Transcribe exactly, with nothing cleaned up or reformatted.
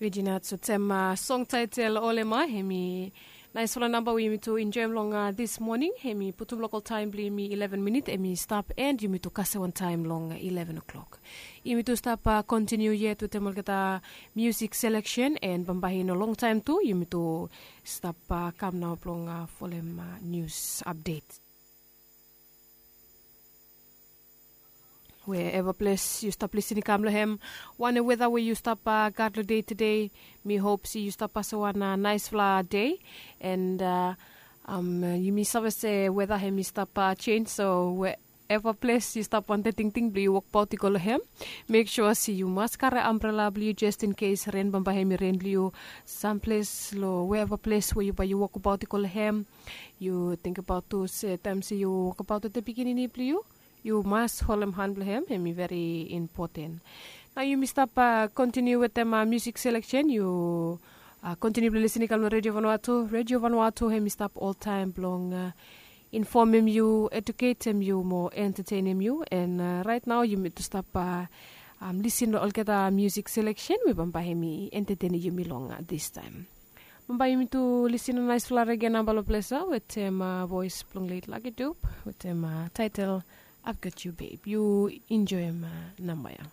Vejinat sotem song taitel olema, hemi naisfala namba we yumi tu enjoim long dis moning. Hemi putum lokal taim blong yumi eleven minit, hemi stap en yumi tu kase wan taim long eleven o'clock. Yumi tu stap kontiniu yet wetem olgeta musik seleksen, en bambae i no longtaim tu yumi tu stap kam nao blong folem nius apdet. Wherever ples yu stap lisin i kam long hem, wane weda we yu stap gat long dei tede, mi hop se yu stap pasem wan naisfala dei. And yumi save se weda hem i stap sens, so wherever ples yu stap wantem tingting blong yu wokbaot i go long hem, mek sua se yu mas kare ambrela blong yu jes in kes ren bambae hem i ren long yu. Samples long wherever ples we yu bae yu wokbaot i go long hem, yu tingbaot tu se taim se yu wokbaot wetem pikinini blong yu, yu mas holem han blong hem, hem i veri impoten. Nao yumi stap kontiniu wetem musik seleksen. Yu kontiniu blong lisin i kam long Redio Vanuatu. Redio Vanuatu hem i stap oltaim blong infomem yu, eduketem yu mo entetenem yu. And raet nao yumi tu stap lisin long olgeta musik seleksen we bambae hem i entetenem yumi long distaim. Bambae yumi tu lisin long naisfala rege namba long ples ya wetem voes blong let Lucky Dube wetem taitel I've Got You Babe. Yu enjoim namba ya.